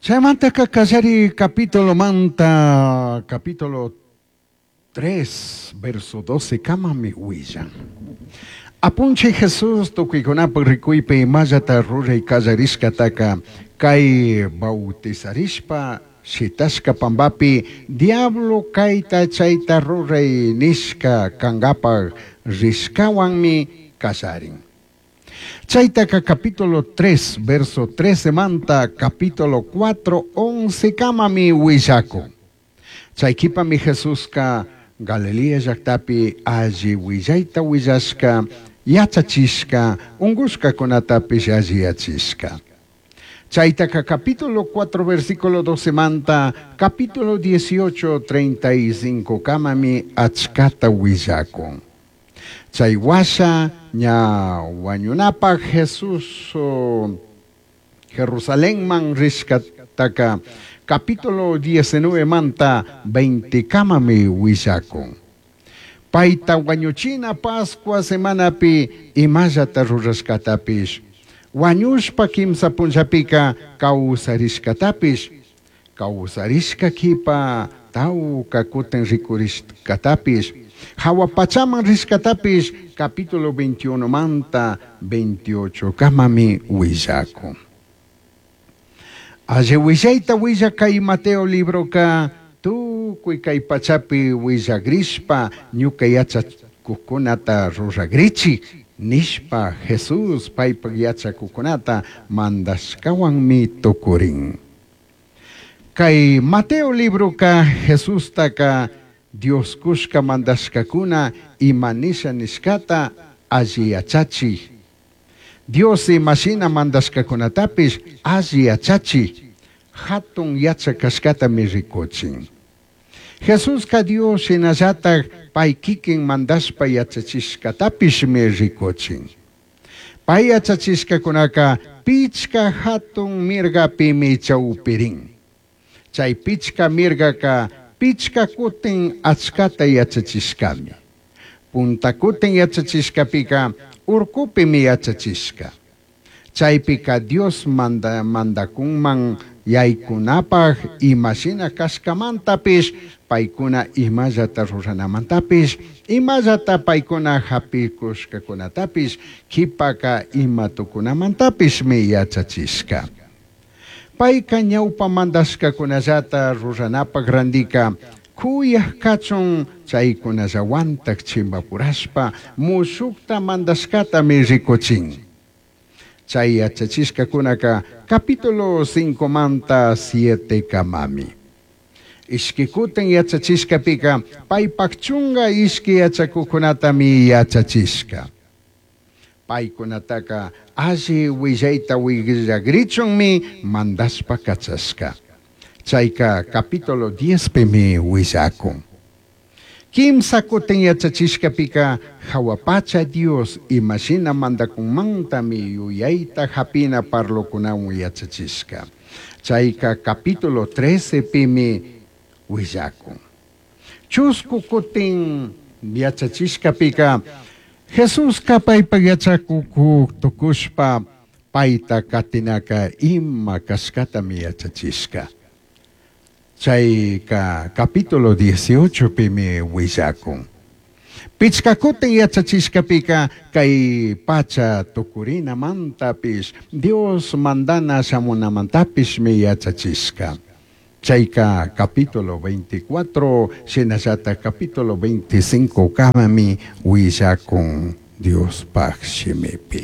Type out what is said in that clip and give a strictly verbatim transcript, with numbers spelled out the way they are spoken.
Chaymantaka kallari capítulo manta capítulo tres verso doce kamami willan. Apunchij Jesús tukuykunapak rikuypi imallata ruray kallarishkataka kay bautizarishpa shitashka pambapi diablo kayta chayta ruray nishka kankapak rishkawanmi kallarin. Chaytaka capítulo tres verso trece manta capítulo cuatro once kamami willakun. Chay kipami Jesuska Galilea llaktapi alli willayta willashka, yachachishka, ungushkakunatapish alliyachishka. Chaytaka capítulo cuatro versículo doce manta capítulo dieciocho treinta y cinco kamami achkata willakun. Chay washa ña wañunapak Jesús oh, Jerusalenman rishkataka capítulo diecinueve manta veinte kamami willakun. Payta wañuchina Pascua semanapi imallata rurashkatapish, wañushpa kimsa punllapika kawsarishkatapish, kawsarishka kipa tawka kutin rikurishkatapish, hawa pachaman rishkatapish capítulo veintiuno manta veintiocho kamami willakun. Alli willayta willakay Mateo libroka tukuy kay pachapi willagrishpa ñuka yachakuqkunata ruragrichi nishpa Jesús paypak yachakuqkunata mandashkawanmi tukurin. Kay Mateo libroka Jesustaka Dios kushka mandashkakuna ima nisha nishkata alli yachachik. Dios imashina mandashkakunatapish alli yachachik, hatun yachakashkatami rikuchin. Jesuska Dios shinallatak pay kikin mandashpa yachachishkatapishmi rikuchin. Pay yachachishkakunaka pichka hatun mirgapimi chawpirin. Chay pichka mirgaka pichka kutin achkata yachachishkami. Punta kutin yachachishkapika urkupimi yachachishka. Chaypika Dios manda, mandakunman yaykunapaj imashina kashkamantapish, paykuna imallata ruranamantapish, imallata paykuna hapikushkakunatapish, kipaka ima tukunamantapishmi yachachishka. Payka ñawpa mandashkakunallata ruranapak randika kuyaj kachun chaykunallawantak chimpapurashpa mushukta mandashkatami rikuchin. Chay yachachishkakunaka capítulo cinco manta siete kamami. Ishki kutin yachachishkapika paypak chunga ishki yachakuqkunatami yachachishka. Paykunataka alli willayta willagrichunmi mandashpa kachashka. Chayka capítulo diez pimi willakun. Kimsa kutin yachachishkapika hawa pacha Dios imashina mandakunmantami yuyayta hapina parlokunawan yachachishka. Chayka capítulo trece pimi willakun. Chusku kutin yachachishkapika Jesuska paypak yachakuku tukushpa payta katinaka ima kashkatami yachachishka. Chayka capítulo dieciocho pimi willakun. Pichka kutin yachachishkapika kay pacha tukurinamantapis Dios mandana shamunamantapishmi yachachishka. Chayka capítulo veinticuatro, shinallata capítulo veinticinco kamami willakun Diospaj shimipi.